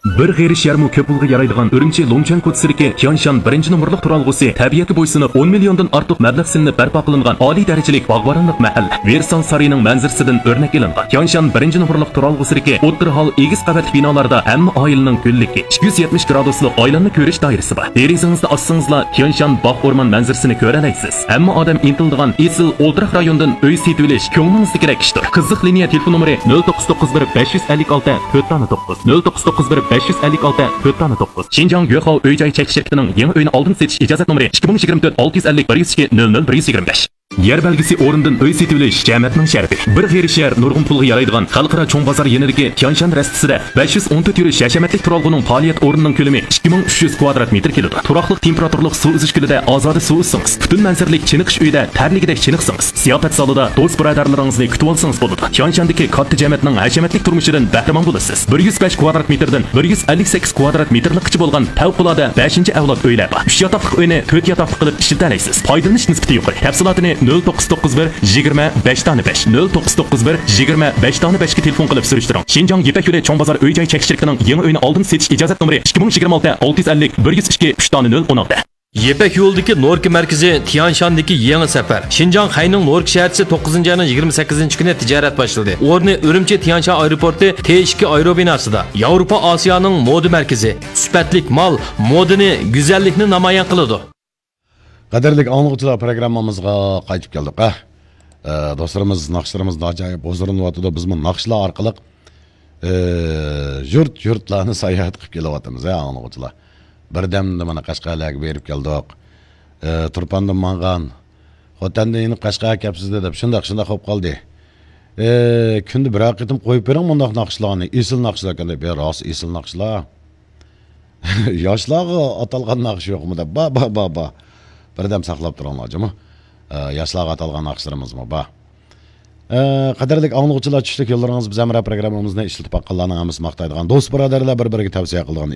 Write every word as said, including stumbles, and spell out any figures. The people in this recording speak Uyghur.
بىر غېرىش يەرمۇ كۆپ پۇلغا يارايدىغان ئۈرۈمچى لۇڭچۈەن كوچىسىدىكى تيانشان بىرىنچى نومۇرلۇق تۇرالغۇسى تەبىئەتكە بويسۇنۇپ، ئون مىليوندىن ئارتۇق مەبلەغ سېلىنىپ بەرپا قىلىنغان ئالىي دەرىجىلىك باغۋەنلىك مەھەللە. ۋېرسال سارىيىنىڭ مەنزىرىسىدىن ئۆرنەك ئېلىنغان تيانشان بىرىنچى نومۇرلۇق تۇرالغۇسىدىكى ئوتتۇرا ھال ئېگىز قەۋەتلىك بىنالاردا ھەممە ئائىلىنىڭ گۈللۈكى، ئىككى يۈز يەتمىش گرادۇسلۇق ئايلانما كۆرۈش دائىرىسى بار. دېرىزىڭىزنى ئاچسىڭىزلا، تيانشان باغ ئورمان مەنزىرىسىنى كۆرەلەيسىز. ھەممە ئادەم ئىنتىلىدىغان ئېسىل ئولتۇراق رايوندىن ئۆي سېتىۋېلىش كۆڭلىڭىزدىكىدەك ئىشتۇر. قىزىق لىنىيە تېلېفون نومۇرى: نۆل توققۇز توققۇز بىر بەش يۈز ئەللىك ئالتە تۆت دانە توققۇز، نۆل توققۇز توققۇز بىر بەش يۈز ئەللىك ئالتە تۆت دانە توققۇز. شىنجاڭ گۆخاۋ ئۆي جاي چەك شىركىتىنىڭ يېڭى ئۆينى ئالدىن سېتىش ئىجازەت نومۇرى: ئىككى مىڭ يىگىرمە تۆت ئالتە يۈز ئەللىك بىر يۈز ئىككى نۆل نۆل بىر يۈز يىگىرمە بەش. يەر بەلگىسى ئورنىدىن ئۆي سېتىۋېلىش جەمەتنىڭ شەرىپى. بىر غېرىش يەر نۇرغۇن پۇلغا يارايدىغان خەلقئارا چوڭ بازار يېنىدىكى تيانشان رەستىسىدە بەش يۈز ئون تۆت يۈرۈش ھەشەمەتلىك تۇرالغۇنىڭ پائالىيەت ئورنىنىڭ كۆلىمى ئىككى مىڭ ئۈچ يۈز كۋادرات مېتىر كېلىدۇ. تۇراقلىق تېمپېراتۇرىلىق سۇ ئۈزۈش كۆلىدە ئازادە سۇ ئۈزسىڭىز، پۈتۈن مەنزىرىلىك چېنىقىش ئۆيىدە تەرلىگۈدەك چېنىقسىڭىز، زىياپەت زالىدا دوست-بۇرادەرلىرىڭىزنى كۈتۈۋالسىڭىز بولىدۇ. تيانشاندىكى كاتتا جەمەتنىڭ ھەشەمەتلىك تۇرمۇشىدىن بەھرىمەن بولىسىز. بىر يۈز بەش كۋادرات مېتىردىن بىر يۈز ئەللىك سەككىز كۋادرات مېتىرلىكقىچە بولغان پەۋقۇلئاددە بەشىنچى ئەۋلاد ئۆيلەر بار. ئۈچ ياتاقلىق ئۆينى تۆت ياتاقلىق قىلىپ ئىشلىتەلەيسىز. پايدىلىنىش نىسبىتى يۇقىرى. تەپسىلاتىنى نۆل توققۇز توققۇز بىر يىگىرمە بەش دانە بەش، نۆل توققۇز توققۇز بىر يىگىرمە بەش دانە بەشكە تېلېفون قىلىپ سۈرۈشتۈرۈڭ. شىنجاڭ يىپەك يولى چوڭ بازار ئۆي جاي چەك شىركىتىنىڭ يېڭى ئۆينى ئالدىن سېتىش ئىجازەت نومۇرى: ئىككى مىڭ يىگىرمە ئالتە ئالتە يۈز ئەللىك بىر يۈز ئىككى ئۈچ دانە نۆل ئون ئالتە. يىپەك يولىدىكى نوركا مەركىزى تيانشاندىكى يېڭى سەپەر. شىنجاڭ خەينىڭ نوركا شەھەرچىسى توققۇزىنچى ئاينىڭ يىگىرمە سەككىزىنچى كۈنى تىجارەت باشلىدى. ئورنى ئۈرۈمچى تيانشان ئايروپورتى تې ئىككى ئايروبىناسىدا. ياۋروپا ئاسىيانىڭ مودا مەركىزى. سۈپەتلىك مال، مودىنى، گۈزەللىكنى نامايان قىلىدۇ. قەدىرلىك ئاڭلىغۇچىلار، پروگراممىمىزغا قايتىپ كەلدۇق. ئە، ئە، دوستلىرىمىز، ناخشىلىرىمىز ناجايىپ ھۇزۇرلىنىۋاتىدۇ. بىزمۇ ناخشىلار ئارقىلىق، ئە، يۇرت-يۇرتلارنى ساياھەت قىلىپ كېلىۋاتىمىز، ھە، ئاڭلىغۇچىلار. بىردەمدە مانا قەشقەرلەرگە بېرىپ كەلدۇق. ئە، تۇرپاندىن ماڭغان، خوتەندىن يېنىپ قەشقەرگە كەپسىز دەپ، شۇنداق، شۇنداق بولۇپ قالدى. ئە، كۈندە بىرەر قېتىم قويۇپ بېرىڭ مۇنداق ناخشىلارنى. ئېسىل ناخشىلار ئىكەن دەپ، يا، راست ئېسىل ناخشىلار. ياشلارغا ئاتالغان ناخشا يوقمۇ دەپ. بار، بار، بار، بار. بىردەم ساقلاپ تۇرۇڭلار جۇمۇ. ئە، ياشلارغا ئاتالغان ناخشىلىرىمىزمۇ بار. ئە، قەدىرلىك ئاڭلىغۇچىلار، چۈشلۈك يوللىرىڭىز بىز ھەمراھ پروگراممىمىزنى ئىشلىتىپ باققانلارنىڭ ھەممىسى ماختايدىغان، دوست بۇرادەرلەر بىر-بىرىگە تەۋسىيە قىلىدىغان